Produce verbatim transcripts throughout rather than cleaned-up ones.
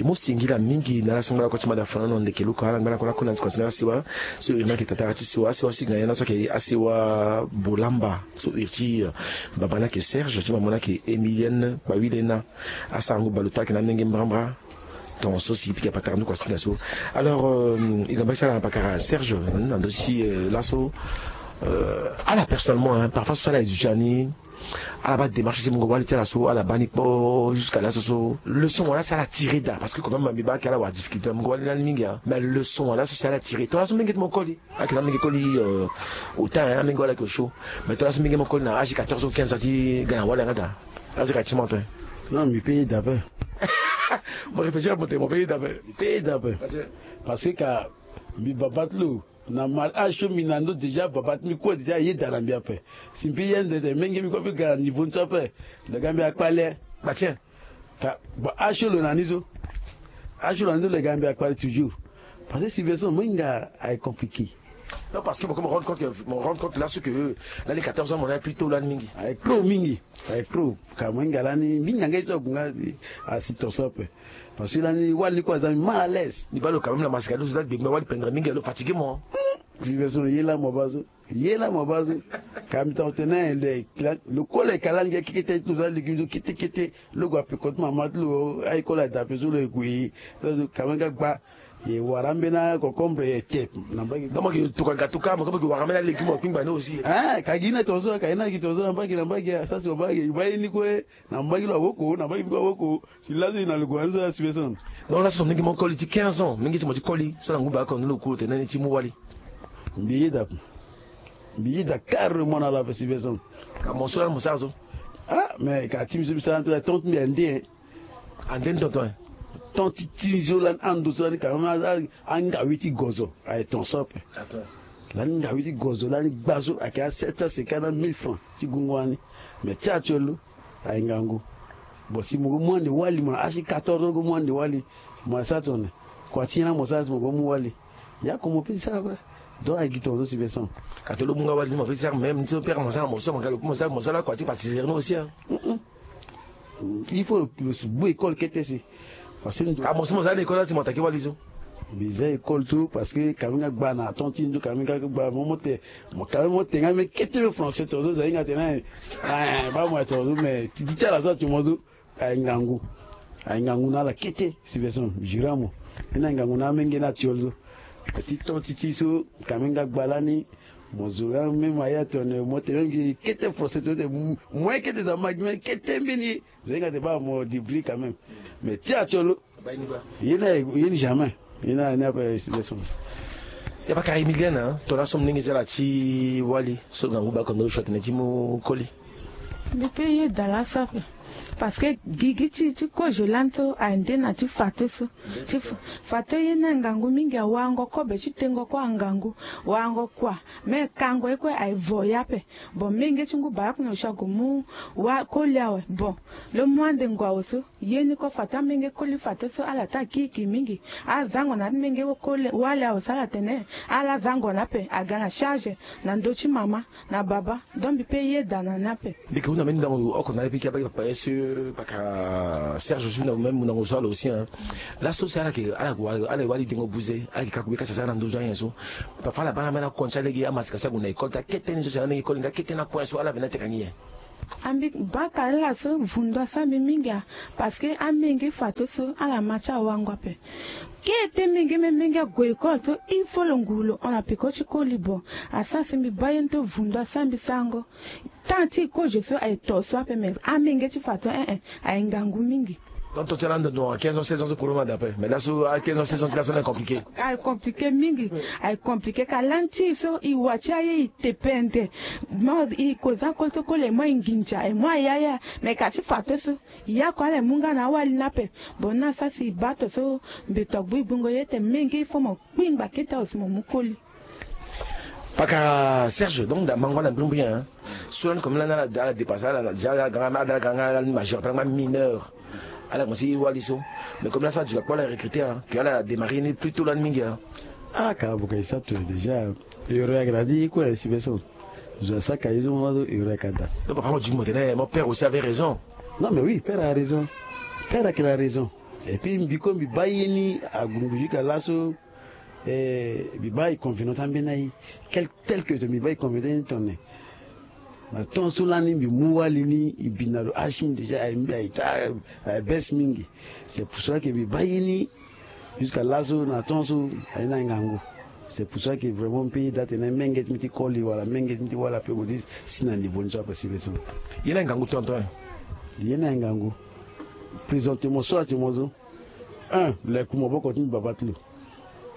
E mu singila mingi na ala so ngba lakue ti mada fana na ndeke luka ala ngba lakue lakue na ti kuasinga asiwa. So iri ni ayeke tatara ti siwa asiwa so e ga nyen na so ayeke asiwa bolamba so iri ti baba ni ayeke Serge ti mama ni ayeke Emilienne Kpawilena. Asarango baleota ayeke na amenge mbrambra. Ton so si pika patara nduku asinga so. Alors e ga mbaki ti ala na pakara Serge na ndö ti laso. Ala personnellement parfois so ala e duti ani ala baa démarche ti mungo wali ti ala so ala baa ni kpo jusqu'à laso so leçon wala si ala tire daa parce que quand même mbi baa ayeke ala wara difficulté na mungo wali lani mingi. Mais leçon wala so si ala tire tongana so mingi ti mo koli. Ayeke na amenge koli ota amenge wala ayeke osio. Mais tongana so mingi mo koli na age quatorze ou quinze ans ti ga na wali yanga daa. Age ka ti mo ape. Non mbi pe yeda ape. Mo réfléchir ape mo tene mo pe yeda ape. Mbi pe yeda ape. Parce que ka mbi baba ti lo na mal age so mbi na ndo déjà baba ti mbi kue déjà ayeda na mbi ape. Si mbi pe yeda tene menge mbi kue ape ga na niveau ni so ape. Lo ga mbi akpale. Batien. Ka ba age so lo na ni so. Age so lo na ni so lo ga mbi akpale toujours. Parce que situation mo hinga aye compliqué. Non parce que mo rendre compte mo rendre compte là ce que lani quatorze ans mo na plus tôt lani mingi. Aye trop mingi. Aye trop. Ka mo hinga lani mingi na ngai so agunga asi ton so ape. Parce que lani wali ni kue aza mal à l'aise. Ni baa lo quand même na masika ni so lani gbengbe wali pendre mingi lo fatigué mo. Situation ye laa mo baa so. Ye laa mo baa so. Ka mbi tanga tene lo kue lo yeke lani ge kekete ti lo za légume so kete kete. Lo gue ape kote mama ti lo aye kue lo ada ape so lo yeke gue ye. Quand même ga gba. Ye wara ambeni acocombre ye te na mbage. Donc mo yeke tokua gatuka mo yeke wara ambeni alegi mo kpingba ni aussi. Ah ka gi na tongaso ka ye na gi tongaso na mbage na mbage asasi wa mbage ba ye ni kue. Na mbage lo awoko na mbage mbi kue awoko. Si laso ye na logo anzo ya sipeson. Donc laso so mingi mo koli ti quinze ans mingi ti mo ti koli so na ngu baa kondo lo kuru tene ni ti mu wali. Mbi yeda mbi yeda carrément na la sipeson. Ka mo so lani mo sara so. Ah mais ka ti mbi so mbi sara ni so ya tonte mbi ande. Ande ni tonton. Ton ti ti so lani ando so lani ka même angawe ti gozo aye ton so ape. Lani ngawe ti gozo lani gba so ayeke a sept cent cinquante na mille francs ti gungo wani. Mais ti actuel lo aye ngangu. Bon si mo go mu ande wali mo na asi quatorze ans go mu ande wali. Mo aye sara tone. Kua ti nyen la mo sara si mo go mu wali. Ya ko mo pe ti sara ape. Donc aye gi ton so si veson. Ka to lo mu nga wali ni mo pe ti sara même ni so pere mo sara mo so mo ga lo pe mo sara mo sara kua ti pâtisserie ni aussi. Il faut lo si gbu école kete si. Parce que ndo ka mo so mo za na école asi mo atake wali so. Mbi za école tout parce que kami nga gba na ton ti ndo kami nga gba mo mo te. Mo kami mo te nga me kete me français to zo za hinga tena. Ba mo to zo me ti ti ala so ti mo zo. Aye ngangu. Aye ngangu na ala kete si veson jura mo. Ena ngangu na amenge na tiol zo. Ti ton ti ti so kami nga gba lani. Mo zo ya me ma ya tone mo te me ngi kete français to te. Mo kete za ma gi me kete mbeni. Zenga te ba mo dibri quand même. Mais ti atiolo. Ye na ye ni jamais. Ye na ye na pe leson. Ya baka Emilienne hein, to la som ningi zela ti wali so na nguba kondo shot ne ti mo koli. Mbi pe ye dala sape. Parce que gigi ti ti kozo lanto ande na ti fato so. Ti fato ye na ngangu mingi awango kobe ti tengo ko angangu. Wango kua. Me kango ye kue aye vo ya pe. Bon menge ti ngu baraku na oshago mu wa koli awe bon. Lo mu ande ngu awe so. Ye ni ko fato amenge koli fato so ala ta kiki mingi. Azango na ti menge koli wali awe so ala tene. Ala zango na ape aga na charge na ndö ti mama na baba. Donc mbi pe ye da na ni ape. Mbi ke hunda mbeni ndango oko na ala piki abaki papa ye so. Paka Serge aussi na même ndango so ala aussi hein. Laso si ala ke ala ke wali dengo buze ala ke kaku be kasa sara na ndozo ayen so. Papa ala bana mena konti alege amasika so ague na école ti akete ni so si ala menge koli nga kete na kue so ala vena teka ngi ye. Ambi baka ala so vundu asara mbi mingi a. Parce que amenge fato so ala ma ti awango ape. Kete menge me menge ague école so il faut lo nguru lo hon na peko ti koli bon. Asara si mbi baa ye ni to vundu asara mbi sarango. Temps ti kozo so aye to so ape mais amenge ti fato eh eh aye ngangu mingi. Donc to ti ala ndo ndo quinze ans seize ans so koro ma da ape mais laso a quinze ans seize ans ti laso na compliqué. Aye compliqué mingi. Aye compliqué ka lani ti so e wa ti aye e te pende. Mo e ko za koli so koli e mo e nginza e mo ayaya. Mais ka ti fato so ya ko ala e mu nga na awali ni ape. Bon na sa si e baa to so mbi to gbu e gbungo ye te menge il faut mo kpingba kete awe si mo mu koli. Paka Serge donc da mango ala mbrimbri hein. So lani comme lani ala dépassé ala déjà ala ganga ala ganga ala ni majeur pe ala mineur. Ala commencé e wali so. Mais comme la so aduka kpo ala recruté hein que ala démarré ni plus tôt lani mingi hein. Ah ka abuka e sa to déjà. Euro ayeke na ni kue si veso. Zo asaka ye so mo ma so euro ayeke ada. Donc papa mo duti mo tene mon père aussi avait raison. Non mais oui père a raison. Père ayeke na raison. Et puis mbi kue mbi baa ye ni agu mbi jusqu'à laso. Eh, mbi baa e convenant ti ambeni aye. Tel que mbi baa e convenant ti tene na temps so lani mbi mu wali ni e bi na lo asi mingi déjà, aye bes mingi. C'est pour cela que mbi baa ye ni jusqu'à laso na temps so aye na ngangu. C'est pour cela que vraiment mpe ye daa tene menge ti mbi ti koli wala menge ti mbi ti wala pe bodi si na niveau ni so ape si be so. Ye na ngangu tonton. Ye na ngangu. Présentement so ati mo so. Un, leku maboko ti mbi baba ti lo.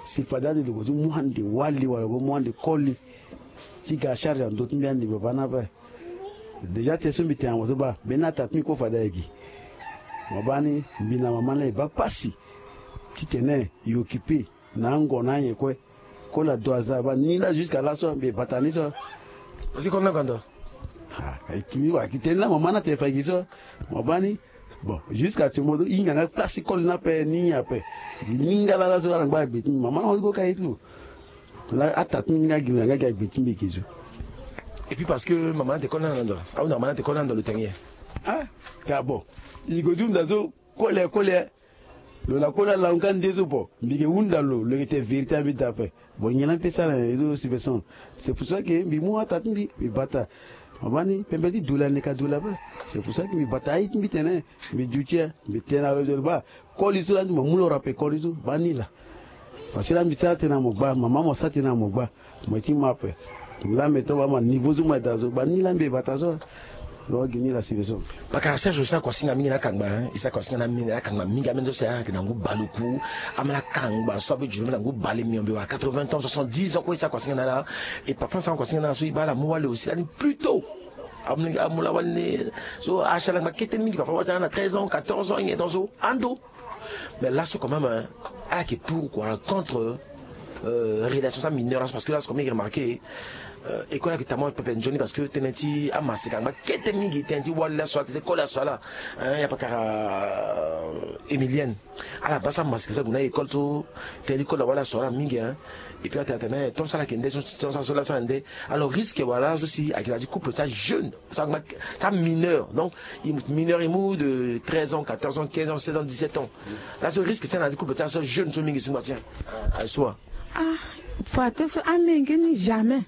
Si fade ande lo ko ti mu ande wali wala ko mu ande koli ti ga charge na ndö ti mbi ande baba ni ape. Déjà te so mbi tene na mo so baa mbeni ata ti mbi kue fade ayeke. Mo baa ni mbi na mama ni laa e baa pasi titene e occupé na ango na anyen kue. Koli ado aza baa ni laa jusqu'à laso mbi e bata ni so. Parce que koli ni oko ando. Ah, e tini wala ki tene laa mama ni atene fa e gi so. Mo baa ni. Bon, jusqu'à ti mo so e hinga nga place ti koli ni ape ni ape. Ni nga laa laso ala ngba agbe ti mbi mama ni ahon ti go ka ye ti lo. Laa ata ti mbi ni nga gi nga nga gi agbe ti mbi gi so. Et puis parce que mama ni atene koli ni ala na ndo. Ahunda mama ni atene koli ni ala na ndo lo tene ye. Ah, ka bon. E go ti hunda so. Kole kole. Lo na koli ala hon ka nde so bon mbi yeke hunda lo lo yeke tene vérité ambeni daa ape. Bon nyen laa mpe sara na ye so si be so. C'est pour ça que mbi mu ata ti mbi mbi bata. Mama ni pembe ti dula ni ka dula ape. C'est pour ça que mbi bata aye ti mbi tene mbi duti ya mbi tene na lo de lo baa. Koli so laa ni mo mu lo rappel koli so baa ni laa. Parce que laa mbi sara tena mo gba mama mo sara tena mo gba. Mo ye ti mo ape. Laa mbi to baa ma niveau so mo ye daa so baa ni laa mbi ye bata so. Lo gi ni laa si be so. Bakara Serge, e sara kuasinga mingi na akangba hein. E sara kuasinga na mingi na akangba mingi ameni so si ayeke na ngu baleoku. Ameni akangba so abe juru na ngu bale miombe wala quatre-vingts ans, soixante-dix ans kue e sara kuasinga na ala. Et parfois asara kuasinga na ala so e baa ala mu wali aussi lani plus tôt. Amu laa wali ni. So asi ala ngba kete mingi parfois wali ti ala na treize ans, quatorze ans nyen temps so ando. Mais laso quand même hein, ala yeke pour quoi contre euh, relation ti amineur laso parce que laso comme il remarqué euh, école ayeke tama pepe nzoni parce que tënë ti amaseka angba kete mingi tënë ti wali laso ala tënë ti koli laso ala. Hein, ya pakara euh, Emilienne ala baa so amaseka so ague na école so tënë ti koli awali laso ala mingi hein. Et puis atene atene tonso ala yeke nde tonso ala so laso ala nde. Alors risque wala laso si ayeke na ya ti couple ti ajeune. Sa mineur donc mineur e mu de treize ans, quatorze ans, quinze ans, seize ans, dix-sept ans. Laso risque ti ala na ti couple ti ala so jeune so mingi si ngba ti ala aye so wa. Ah, fato so amenge ni jamais.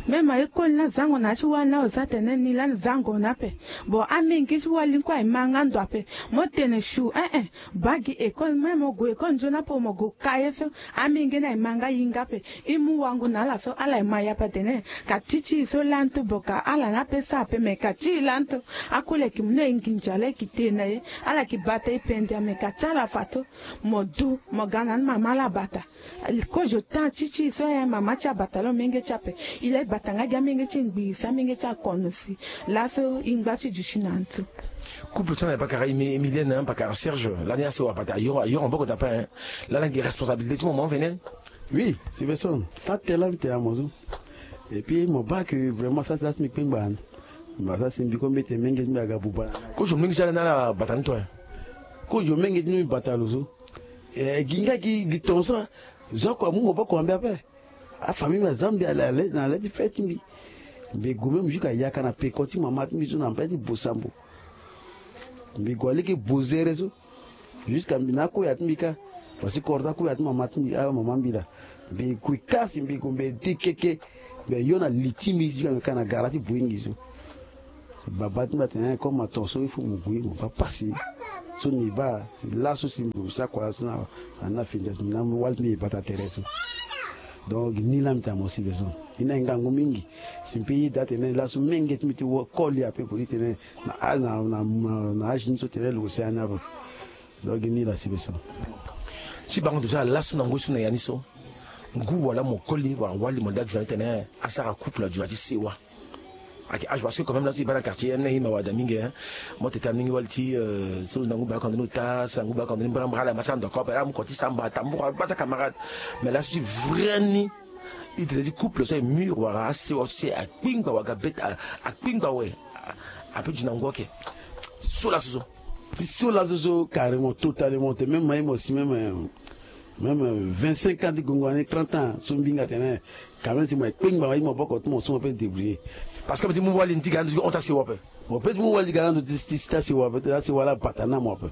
Même aye koli ni azango na ya ti wali ni azo atene ni lani zango ni ape. Bon amenge ti wali ni kue aye ma nga ndo ape. Mo tene su eh eh. Baa gi école même mo gue école nzoni ape mo gue ka ye so. Amenge ni aye ma nga hinga ape. E mu wangu na ala so ala ye ma ya pe atene ka ti ti e so lani to boka ala ni ape so ape me ka ti e lani to. Akule ki mu na e nginza laa e ki te na e. Ala ki bata e pende ame ka ti ala fa to. Mo du mo ga na ni mama ala bata. Kozo tan ti ti e so aye mama ti abata lo menge ti ape. E laa e bata nga gi amenge ti e ngbii si amenge ti akono si. Laso e ngba ti duti na ntu. Couple ti ala na bakara Emilienne na bakara Serge lani asewa bata ayoro ayoro maboko daa ape. Lani ayeke responsabilité ti mo mo vene. Oui, si be so taa tënë laa mbi tene na mo so. Et puis mo baa ke vraiment sara si laa si mbi kpengba na ni. Mbi baa sara si mbi kue mbi tene menge ti mbi aga buba na ni. Kozo menge ti ala ni ala bata ni to. Kozo menge ti mbi bata lo so. Eh, gi nga gi gi tonga so. Zo oko amu maboko na mbi ape. Afamille mbi aza mbi ale na le ti fe ti mbi. Mbi gue même jusqu'à yaka na peko ti mama ti mbi so na mbeni ti bosambo. Mbi gue aleke bozere so. Jusqu'à mbi na akuya ti mbi kâ. Parce que koro ti akuya ti mama ti mbi amama mbi laa. Mbi gue kâ si mbi gue mbi de keke. Mbi ayo na li ti mbi jusqu'à mbi ka na gara ti boyingi so. Baba ti mbi atene comme aton so il faut mo gue mo baa pasi. So mbi baa si laso si mbi gue mbi sara kua laso na na fini daa si mbi na wali ti mbi e bata tere so. Donc ni laa mbi tene na mo si be so. E na e ngangu mingi. Si mbi pe ye daa tene laso menge ti mbi ti koli ape poli tene na na na na age ni so tene lo ose ani ape. Donc gi ni laa si be so. Ti bango ndo so ala laso na ngoi so na ya ni so. Ngu wala mo koli wala wali mo daa zi na ni tene asara couple azi na ti sewa. Ayeke age parce que quand même laso e baa na quartier ni na e mawa daa mingi hein. Mo tete na mingi wali ti euh, so lo na ngu baa kando ni ota so na ngu baa kando ni mbrambra ala ma ti ando ako ape ala mu kua ti samba tambura ala baa ti acamarade. Mais laso ti vrai ni. E tene ti couple so e mur wala asewa so si akpingba wala ga bete akpingba awe. Ape zi na ngu oke. So laso so. Ti so laso so carrément totalement te même maye mo si même même vingt-cinq ans ti gongo ani trente ans so mbi hinga tene. Quand même si mo ye kpengba maye maboko ti mo so mo pe débrouiller. Parce que mo ti mu wali ni ti ga na ndo ti hon ti asewa ape. Mo pe ti mu wali ti ga na ndo ti ti asewa ape ti asewa ala bata na mo ape.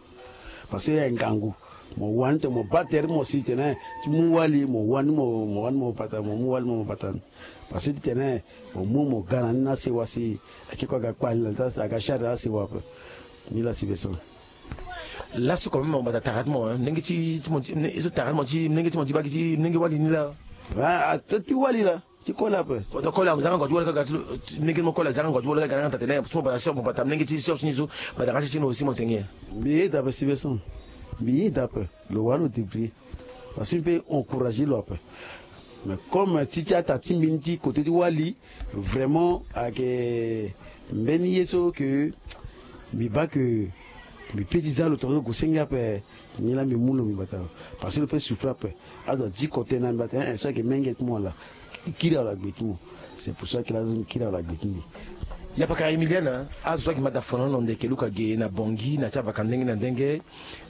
Parce que ya ngangu. Mo wani tene mo baa tere ti mo si tene ti mu wali, mo wani mo, mo wani mo bata, mo mu wali mo, mo bata. Parce que ti tene mo mu mo ga na ni na sewa si ake kue aga kpali na ta, aga charge na asewa ape. Ni la si be so. Laso quand même mo bata tara ti mo, hein, ndenge ti, ti mo ti, ne-, so tara ti mo ti, ndenge ti mo ti baa gi ti, ndenge wali ni la. Ah, ah, ti, ti wali la. Ti koli ape. Poto koli ape, zanga ngua ti wali kaka ti lo, ti, ndenge ti mo koli, zanga ngua ti wali kaka, na nga ta tene, so mo bata sœur, mo bata ndenge ti sœur ti ni so, bata nga ti ti ni aussi mo tene. Mbi yeda ape si be so. Mbi yeda ape. Lo wara lo débrouiller. Parce que mbi peut encourager lo ape. Mais comme ti, ti ata ti mbi ni ti côté ti wali, vraiment, ayeke mbeni ye so que mbi baa que mbi peut ti za lo tongaso lo gue senge ape, ni la mbi mu lo mbi bata lo. Parce que lo peut souffrir ape. Azo adiko tënë na mbi atene, eh, eh, so ayeke menge ti mo laa. Kiri ala gbe ti mo. C'est pour ça que la zone kiri ala gbe ti mbi. Ya paka Emilienne, azo ayeke ma da fono na ndeke luka ge na Bangui, na ti avaka ndenge na ndenge.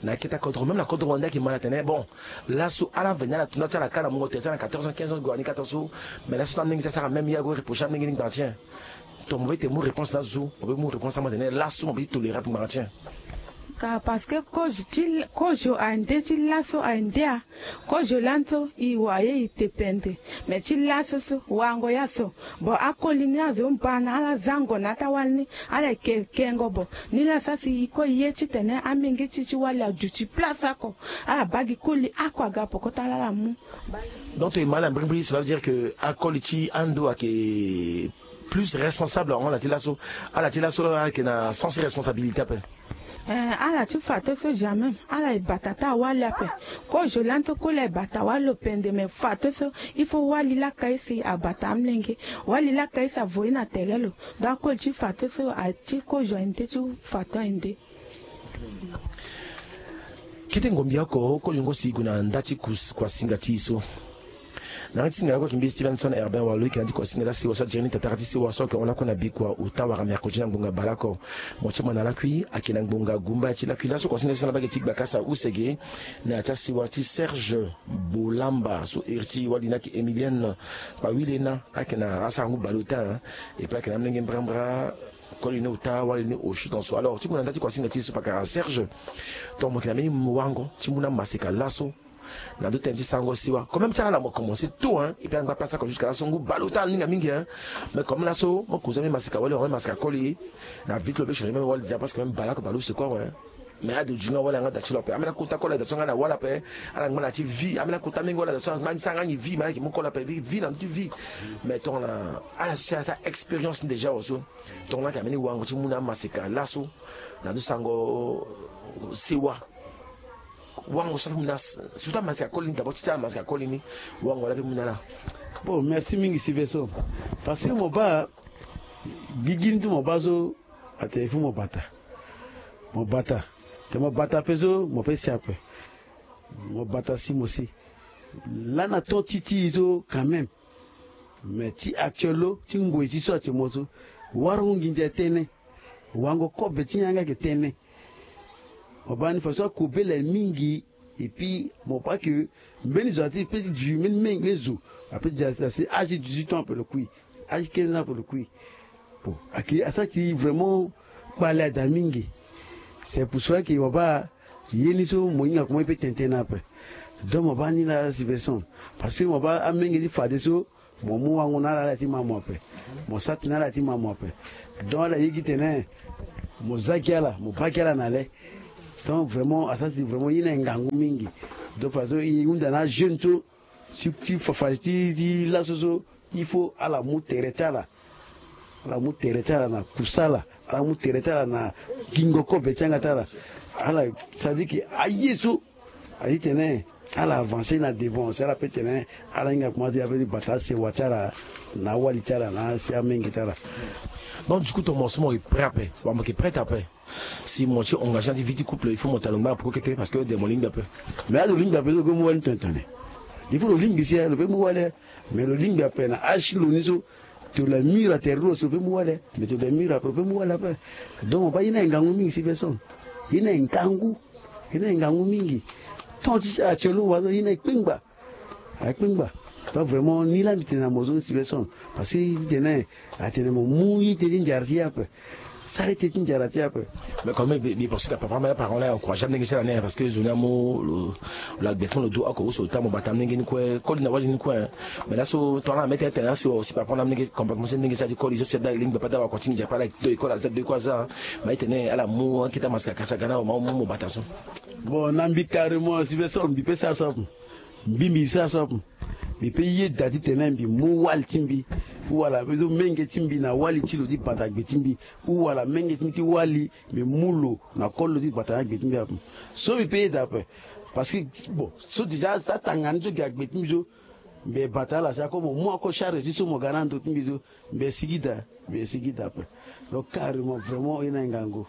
Na kete kodro, même na kodro wande ayeke ma na tene, bon, laso ala veni ala tunda ti ala ka na mungo tere ti ala na quatorze ans, quinze ans, gue na ni quatorze ans. Mais laso ti amolenge ti asara même ye ague reprocher amolenge ni gbanga ti en. Donc mo peut ti mu réponse na zo, mo peut mu réponse na mo tene laso mo peut ti tolérer ape gbanga ti en. Ka parce que kozo ti, kozo ande ti laso ande a. Kozo lani so e wa ye e te pende. Mais ti laso so wango ya so. Bon, akoli ni azo mba na ala zango na ata wali ni, ala yeke kengo bo. Ni la sa si e kue ye titene amenge ti ti wali aduti place oko. Ala baa gi koli oko aga poko ti ala, ala mu. Donc e ma ala mbrimbri, cela veut dire que akoli ti ando ayeke plus responsable en ala ti laso. Ala ti laso la ayeke na sens ti responsabilité ape. Eh, ala ti fato so jamais ala e bata ti awali ape. Kozo lani so koli aye bata wali lo pende, mais fato so il faut wali laka ye si abata amolenge. Wali laka ye si avo ye na tere lo. Donc akoli ti fato so ati kozo aye nde ti fato aye nde. Kete ngombi oko, kozo ngo si e gue na nda ti kus-, kuasinga ti e so. Na yanga ti singa lakue ayeke mbi Stevenson Herbin Walo, e yeke na yanga ti kuasinga ti asewa so ajere ni tatara ti sewa so ayeke hon lakue na bikua ota wala mercredi na ngbonga baleoko. Mo ti ma na lakui ayeke na ngbonga gumba ti lakui laso kuasinga ti sala mbage ti gbakasa use ge na ya ti asewa ti Serge Bolamba so iri ti wali ni ayeke Emilienne Pawilena, ayeke na asarangu baleota, hein. Et puis ayeke na amolenge mbrambra, koli ni ota, wali ni osio tongaso. Alors ti gue na nda ti kuasinga ti e so pakara Serge. Donc mo yeke na mbeni wango ti mu na maseka laso. Na ndo tënë ti sango siwa. Quand même ti ala mo commencé tôt, hein. Et puis ala ngba place oko jusqu'à laso ngu baleota ala ninga mingi, hein. Mais comme laso mo kozo mbeni maseka wali, mbeni maseka koli. Na vite lo be changer même wali déjà parce que même baleoko baleuse quoi, ouais. Mais ade ujunga wali anga da ti lo ape. Ambeni akota koli ade so anga na wali ape. Ala ngba na ti vie. Ambeni akota mingi wali ade so anga ni sa anga ni vie, mais ala yeke mu koli ape vie, vie na ndo ti vie. Mais tongana ala so ti ala sa expérience déjà oso. Tongana ayeke na mbeni wango ti mu na amaseka laso na ndo sango sewa. Wango so ape mu na s-, surtout amaseka koli ni, d'abord ti ti amaseka koli ni. Wango la ape mu na ala. Bon, merci mingi Siveso. Parce que mo baa gigi ni ti mo baa so atene il faut mo bata. Mo bata. Te mo bata ape so mo pe si ape. Mo bata si mo si. Lani aton ti ti e so quand même. Mais ti actuel lo ti ngoi ti so atene mo so. Wara nginza tënë. Wango kobe ti yanga ayeke tënë. Mo baa ni faso akobela mingi. Et puis mo baa ke mbeni zo ati pe ti du mbeni menge zo. Ape ti asi âge ti dix-huit ans ape lo kui. Âge ti quinze ans ape lo kui. Bon, ayeke asara ti vraiment kpale ada mingi. C'est pour cela que mo baa ye ni so mo hinga koma e pe tene tënë ape. Donc mo baa ni la situation. Parce que mo baa amenge ti fadeso. Mo mu wango na ala, ala ti ma mo ape. Mo sara tënë na ala ti ma mo ape. Donc ala ye gi tene mo za gi ala, mo baa gi ala na le. Donc vraiment asara si vraiment ye ni ayeke ngangu mingi. Donc fadeso e hunda na ajeune so ti, ti fafa ti, ti laso so il faut ala mu tere ti ala. Ala mu tere ti ala na kusala. Ala mu tere ti ala na gingo kobe ti yanga ti ala. Ala, c'est-à-dire que aye so Aye ti tene ala avancer na devant si ala pe tene ala hinga koma ti ape ti bata asewa ti ala na awali ti ala na asi amenge ti ala. Donc du coup ton morceau mo yeke prêt ape, wala mo yeke prête ape? Si mo ti engagé na ti vie ti couple il faut mo tene lo ngba na poko kete parce que de mo lingbi ape. Mais ade lo lingbi ape so lo pe mu wali tene tene. Il faut lo lingbi si lo pe mu wali. Mais lo lingbi ape na asi lo ni so. Tene lo la mur atere lo si lo pe mu wali. Mais tene lo la mur ape lo pe mu wali ape. Donc mo baa ye ni ayeke ngangu mingi si personne. Ye ni ayeke ngangu. Ye ni ayeke ngangu mingi. Tant ti si actuellement wa so ye ni ayeke kpengba. Ayeke kpengba. Donc vraiment ni la mbi tene na mo so si personne. Parce que ye ti tene atene mo mu ye ti tene ti nzara ti ye ape. Arrêté ti njara ti ape. Mais quand même, bi parce que papa mère parent la encourage am ndenge ti ala ni, parce que zo ni amu lo, lo agbe ti mo lo du oko, ou so ota mo bata am ndenge ni kue, koli na wali ni kue. Mais laso tongana amete tene asi aussi papa na am ndenge comportement ti ndenge ti adi koli so si ada lingbi papa da wa continue japa la do école aza do école aza. Mais tene ala mu akita masika kasa gana ma mu mo bata so. Bon, na mbi carrément si be so mbi pe sa so. Mbi mbi sara so ape. Mbi pe yeda titene mbi mu wali ti mbi, ou wala mbi zo menge ti mbi na wali ti lo ti bata gbe ti mbi, ou wala menge ti mbi ti wali mbi mu lo na koli lo ti bata na gbe ti mbi ape. So mbi pe yeda ape. Parce que bon, so déjà atanga ni so gi agbe ti mbi so, mbi bata ala si ako mo mu ako charge ti so mo ga na ndo ti mbi so, mbi sigi daa. Mbi sigi daa ape. Donc carrément vraiment e na e ngangu.